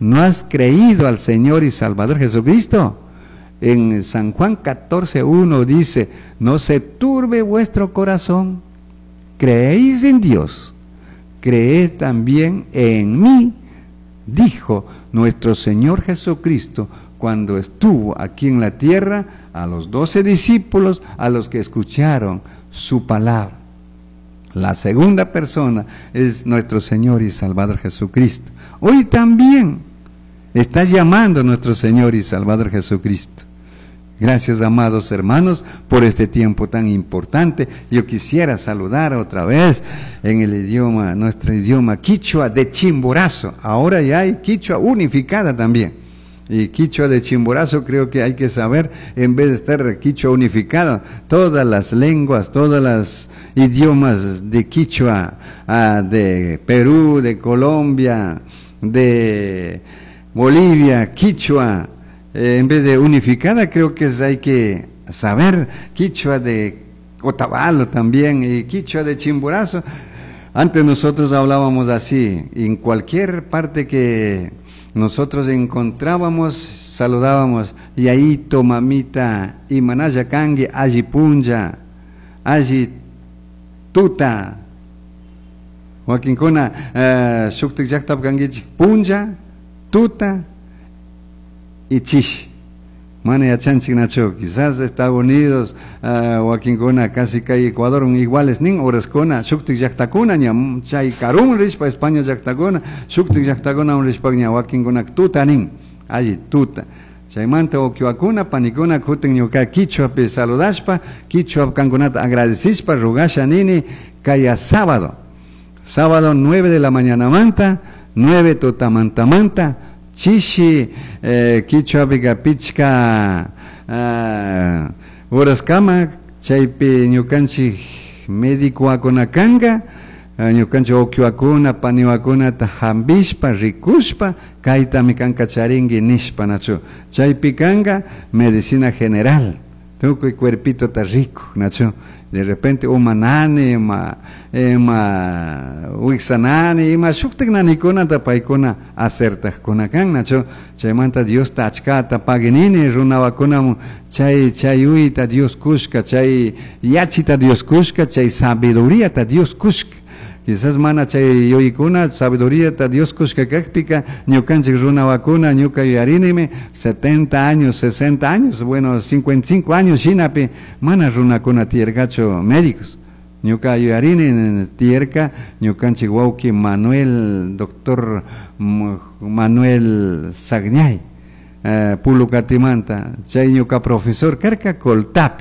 No has creído al Señor y Salvador Jesucristo. En San Juan 14:1 dice: "No se turbe vuestro corazón, creéis en Dios, creed también en mí", dijo nuestro Señor Jesucristo cuando estuvo aquí en la tierra a los 12 discípulos, a los que escucharon su palabra. La segunda persona es nuestro Señor y Salvador Jesucristo. Hoy también está llamando nuestro Señor y Salvador Jesucristo. Gracias, amados hermanos, por este tiempo tan importante. Yo quisiera saludar otra vez en el idioma, nuestro idioma quichua de Chimborazo. Ahora ya hay quichua unificada también. Y quichua de Chimborazo creo que hay que saber, en vez de estar quichua unificada, todas las lenguas, todas las idiomas de quichua, de Perú, de Colombia, de Bolivia, quichua, en vez de unificada, creo que hay que saber quichua de Otavalo también y quichua de Chimborazo. Antes nosotros hablábamos así, en cualquier parte que nosotros encontrábamos, saludábamos: "Yayito, mamita, imanalla kanki, alli punlla, alli tuta". Wakinkuna shuktik llaqtapi kankichik, punlla, tuta y chishi. Mana yachanchiknachu, quizás Estados Unidos, wakinkuna casi kay Ecuador iguales nin horaskuna, shuktik llaqtakuna ña chay karun rishpa España llaqtakuna, shuktik llaqtakuna rishpa ña wakinkuna tuta nin, alli tuta. Chaymanta wawqiwakuna, panikuna, kutin ñuka quichuapi saludashpa, quichua kankunata agradecishpa, rugasha nini, kaya sábado, sábado 9 de la mañana manta, 9 tutamantamanta, chishi quichuapika pichka horaskama, chaypi ñukanchik médico kanka, ñukanchik wawqiwakuna, paniwakunata hambishpa, rikushpa, kaytami kanka charinki nishpa, nachu. Chaypi kanka medicina general, tukuy cuerpitota rikuk, nachu. De repente uma nani, ima wiksa nani, ima shuktik nanikunata paykuna acertajkuna kan, nachu. Chaymanta Diosta achkata paginini runawakunamun chay uyta Dios kushka, chay yachita Dios kushka, chay sabiduríata Dios kushka. Quizás mana chay yuykuna, sabiduríata Dios kushka kakpika, ñukanchik runawakuna, ñuka yuyarinimi, 70 años, 60 años, bueno, 55 años shinapi, mana runakuna tiyarkachu médicos. Ñuka yuyarini tiyarka, ñukanchik wawki Manuel, doctor Manuel Sagñay, Pulucatimanta, chay ñuka profesor karka Coltap,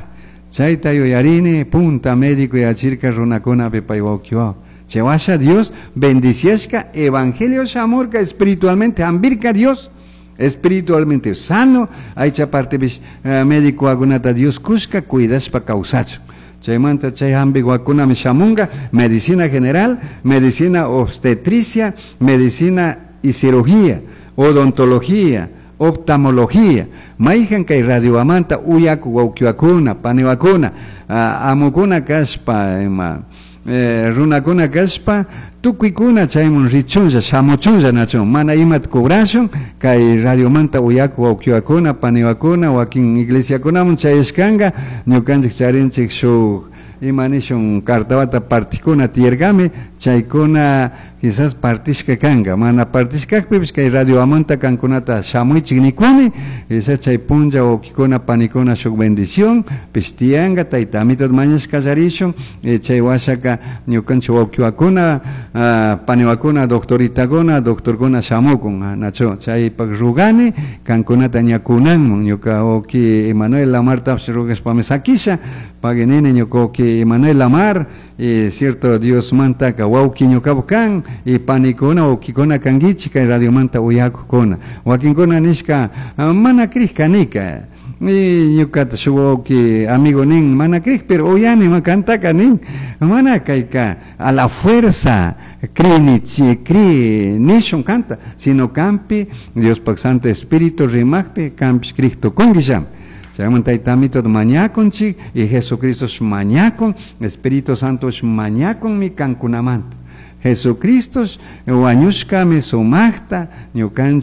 chayta yuyarini, punta médico yachirka runakunapi pay wawkiwaw. Chewasha Dios bendiciashka, evangelio shamurka espiritualmente, hambirka Dios, espiritualmente sano, aycha parte médico agunata Dios kushka, cuidashpa kawsachu. Chaymanta chay hambiwakunami shamunga, medicina general, medicina obstetricia, medicina y cirugía, odontología, oftalmología. Mayhan kay radiowamanta uyaku wawkiwakuna, paniwakuna, amukuna kashpa, ima, runakuna kashpa, tukuykuna chaymun richunlla, shamuchunlla nachun, mana imata cobrashun, kay radiomanta uyaku wawkiwakuna, paniwakuna, wakin iglesiakunamun chayashkanka, ñukanchik charinchik shuk ima nishun cartawata partikuna tiyarkami, chaykuna quizás partishka kanka, mana partishkakpipish kay radiowamanta kankunata shamuychik nikuni, quizás chay punlla wawkikuna panikuna shuk bendición pish tiyanka, tayta Amito mañashka kallarishun, chay washaka ñukanchik wawkiwakuna, paniwakuna, doctoritakuna, doctorkuna shamukun, nachu, chaypak rugani kankunata ñakunanmun, ñuka wawki Emanuel Lamartapish rugashpami sakisha, paginini ñuka wawki Emanuel Lamar, y cierto Dios mantaka wawki ñukapak kan, y panikuna wawkikuna kankichik kay radiomanta uyakukuna. Wakinkuna nishka, mana krishkanika, y ñukata shuk wawki amigo nin, mana krij, pero uyani ma kantaka nin, mana kayka a la fuerza cri cri nishun kanta, sino kampi Diospak Santo Espíritu rimakpi kampish krij tukunkisham. Chaymanta tayta Amito mañakunchik y Jesucristo mañakun, Espíritu Santo mañakunmi kankunamanta. Jesucristo wañushkami sumaqta ñukanchik